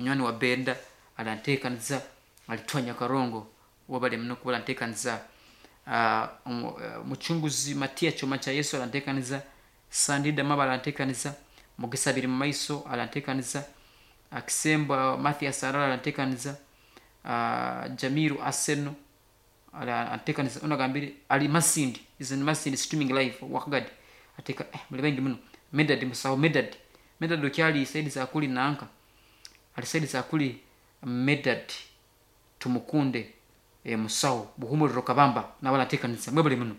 Munywani wa Benda aranteekaniza, alitwanya Karongo, wabale muno kuba aranteekaniza. Mucunguzi Matiya Kyoma kya Yesu aranteekaniza, Sandida Maba aranteekaniza, Mugisa Biri Mumaiso aranteekaniza, Kisemba Mathias Arara aranteekaniza, Jamiru Aseno aranteekaniza. Onu agambire ali Masindi, is in Masindi streaming live Wakagadi ateeka. Muli baingi muno. Medad Musaho, Medad, Medad okyali side za kuli nanka ali side za kuli. Medad Tumukunde, Musaho Buhumuriro Kabamba nawe aranteekaniza. Mwebale muno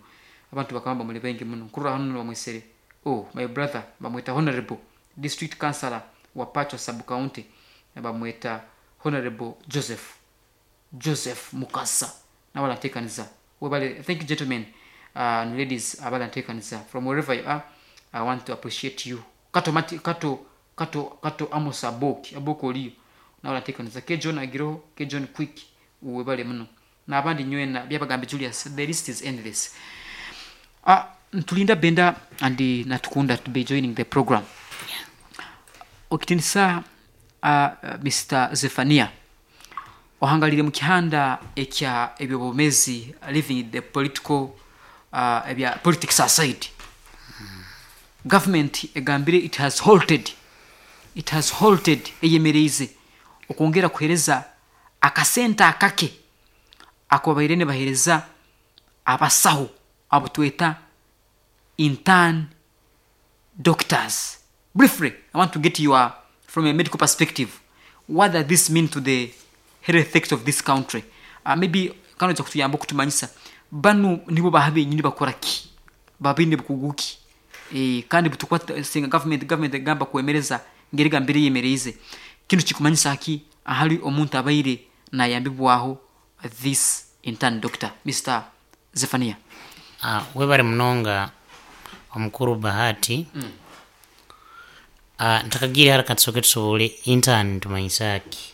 abantu bakabamba, muli baingi muno. Nkurora hanu bamwesere, oh, my brother, bamweta Honorable District Councillor wa Pacho Sub County, bamweta Honorable Joseph Mukasa, nawe aranteekaniza. Webale. Thank you, gentlemen and ladies abaranteekaniza from wherever you are. I want to appreciate you. Kato Mati, Kato Kato Kato Amos Aboki, Aboki oliyo, nawe aranteekaniza. K John agiroho, K John Quick, webale muno n'abandi nywena. Byabagambe Julius, the list is endless. Ntulinda Benda and Natukunda to be joining the program. Okitinisa Mr Zephania ohangalire mu kihanda ekya ebyobumezi, leaving the political, ebya politics aside, government egambire it has halted, eyemereize okwongera kuhereza akasente akake ako babaire nibahereza abasaho abo tweta intern doctors. Briefly, I want to get your, from a medical perspective, what does this mean to the health sector of this country? Maybe kano kutuyamba okutumanyisa banu nibo baha benyini, bakora ki, babaine bukugu ki? Kandi butukwata singa government egamba kwemereza ngeri gambire yemereize kinu, kikumanyisa ki ahali omuntu abaire nayambibwaho this intern doctor, Mr Zephania? Webale munonga omukuru Bahati. Ntakagire haraka, tusoke tusobole intern tumanyisa ki?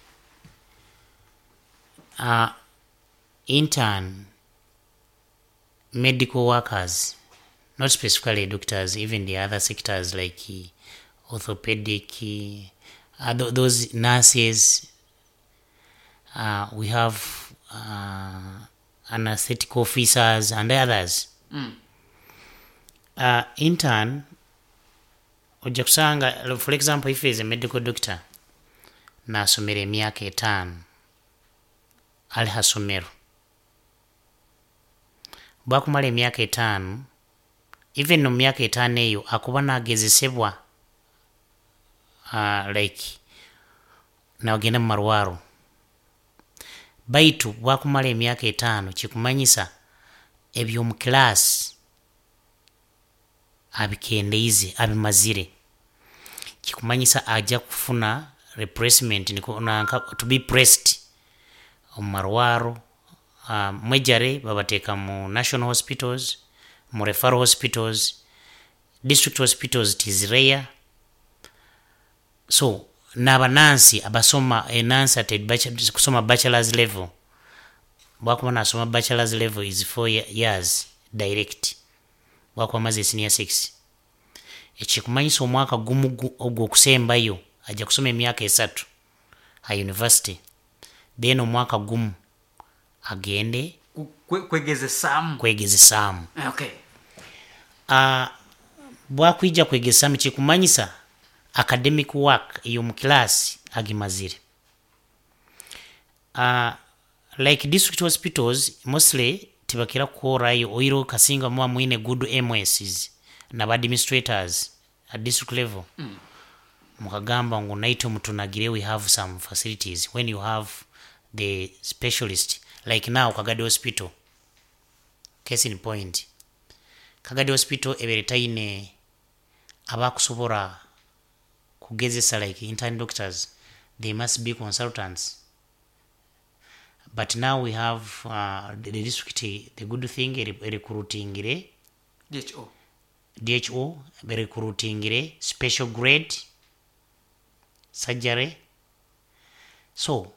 Intern medical workers, not specifically doctors, even the other sectors like orthopedic, those nurses, we have anesthetic officers and others. Intern ojja kusanga, for example, if is a medical doctor nasomera emyaka 5 ali hasomero, bwakumala emyaka 5, even mu myaka 5 eyo akuba nagezesebwa, like nagenda mu marwaro, baitu bwakumala emyaka 5 kikumanyisa ebyomu class abikendeize, abimazire, kikumanyisa ajja kufuna replacement, nanka to be pressed omu marwaro. Mwejare babateeka mu national hospitals, mu referral hospitals, district hospitals it is rare. So n'abanansi abasoma enansi ate kusoma bachelors level, bwakuba nasoma bachelors level is 4 years direct, bwakuba amaze senior six, ekikumanyisa omwaka gumu ogwo okusembayo ajja kusoma emyaka 3 ha university, then omwaka gumu agende Kwegezesaamu. Kwegezesaamu. Bwakwija kwegezamu kikumanyisa academic work ey'omu class agimazire. Like district hospitals mostly tibakira kukorayo oiro kasinga muba mwine good MSs naba administrators at district level, mukagamba ngu naitwe mutunagire, we have some facilities. When you have the specialist, like now Kagadi Hospital, case in point, Kagadi Hospital ebere taine abakusobora kugezesa like intern doctors, they must be consultants. But now we have the district, the good thing, recruitingire DHO. DHO recruitingire special grade surgery. So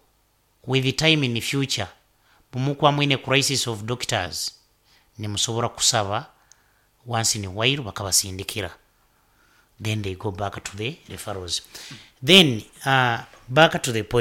with the time, in the future, bumukuba mwine crisis of doctors, nimusobola kusaba once in a while bakabasindikira, then they go back to the referrals. Then back to the point.